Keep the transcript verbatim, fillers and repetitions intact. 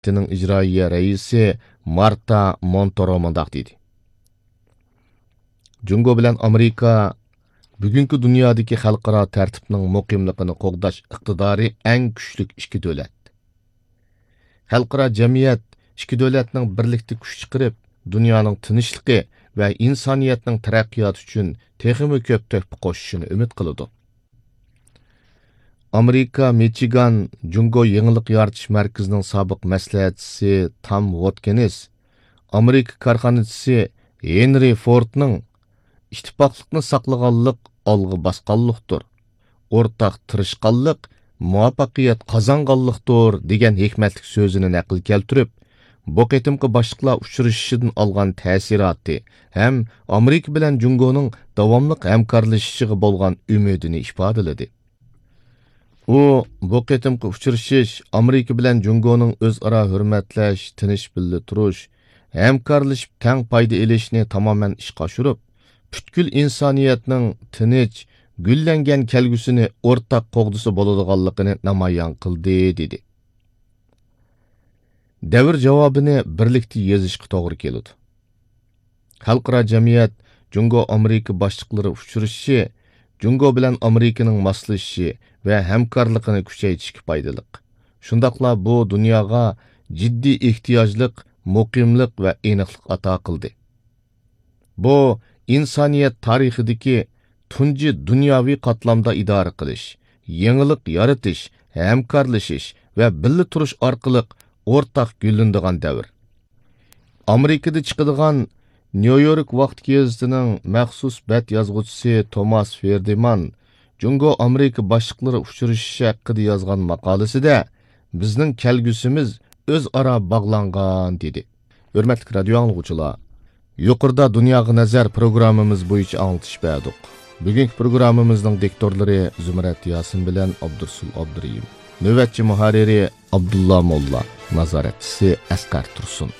كومىتېتىنىڭ ئىجرائىيە رەئىسى مارتا مونتورو مۇنداق دېدى: جۇڭگو بىلەن ئامېرىكا بۈگۈنكى دۇنيادىكى خەلقئارا تەرتىپنىڭ مۇقىملىقىنى قوغداش ئىقتىدارى ئەڭ كۈچلۈك ئىككى دۆلەت. خەلقئارا جەمئىيەت ئىككى دۆلەتنىڭ بىرلىكتە كۈچ چىقىرىپ، دۇنيانىڭ تىنچلىقى ۋە ئىنسانىيەتنىڭ تەرەققىياتى ئۈچۈن تېخىمۇ كۆپ تۆھپە قوشۇشىنى ئۈمىد قىلىدۇ. ئامېرىكا مىچىگان جۇڭگو يېڭىلىق يارىتىش مەركىزىنىڭ سابىق مەسلىھەتچىسى تام ۋوتكىنس، ئامېرىكا كارخانىچىسى ھېنرى فوردنىڭ «ئىتتىپاقلىقنى ساقلىغانلىق ئالغا باسقانلىقتۇر، ئورتاق تىرىشقانلىق مۇۋەپپەقىيەت قازانغانلىقتۇر» دېگەن ھېكمەتلىك سۆزىنى نەقىل كەلتۈرۈپ، بۇ قېتىمقى باشلىقلار ئۇچرىشىشىدىن ئالغان تەسىراتى ھەم ئامېرىكا بىلەن جۇڭگونىڭ داۋاملىق ھەمكارلىشىشىغا بولغان ئۈمىدىنى ئىپادىلىدى. ئۇ بۇ قېتىمقى ئۇچرىشىش ئامېرىكا بىلەن جۇڭگونىڭ ئۆزئارا ھۆرمەتلەش، تىنچ بىللە تۇرۇش، ھەمكارلىشىپ تەڭ پايدا ئېلىشنى تامامەن ئىشقا ئاشۇرۇپ، پۈتكۈل ئىنسانىيەتنىڭ تىنچ، گۈللەنگەن كەلگۈسىنى ئورتاق قوغدىسا بولىدىغانلىقىنى نامايان قىلدى، دېدى. دەۋر جاۋابىنى بىرلىكتە يېزىشقا توغرا كېلىدۇ. خەلقئارا جەمئىيەت جۇڭگو ئامېرىكا باشلىقلىرى ئۇچرىشىشى جۇڭگو بىلەن ئامېرىكىنىڭ ماسلىشىشى ۋە ھەمكارلىقىنى كۈچەيتىشكە پايدىلىق. شۇنداقلا بۇ دۇنياغا جىددىي ئېھتىياجلىق، مۇقىملىق ۋە ئېنىقلىق ئاتا قىلدى. بۇ ئىنسانىيەت تارىخىدىكى تۇنجى دۇنياۋى قاتلامدا ئىدارە قىلىش، يېڭىلىق يارىتىش، ھەمكارلىشىش ۋە بىللە تۇرۇش ئارقىلىق ئورتاق گۈللىنىدىغان دەۋر. ئامېرىكىدا چىقىدىغان نيۇ يورك ۋاقىت گېزىتىنىڭ مەخسۇس بەت يازغۇچىسى توماس فېردىمان جۇڭگو ئامېرىكا باشلىقلىرى ئۇچرىشىشى ھەققىدە يازغان ماقالىسىدە، «بىزنىڭ كەلگۈسىمىز ئۆزئارا باغلانغان» دېدى. ھۆرمەتلىك رادىيو ئاڭلىغۇچىلار، يۇقىرىدا دۇنياغا نەزەر پروگراممىمىز بويىچە ئاڭلىتىش بەردۇق. بۈگۈنكى پروگراممىمىزنىڭ دىكتورلىرى زۇمرەت ياسىن بىلەن ئابدۇرسۇل ئابدۇرېھىم. نۆۋەتچى مۇھەررىرى ئابدۇللا موللا، نازارەتچىسى ئەسقەر تۇرسۇن.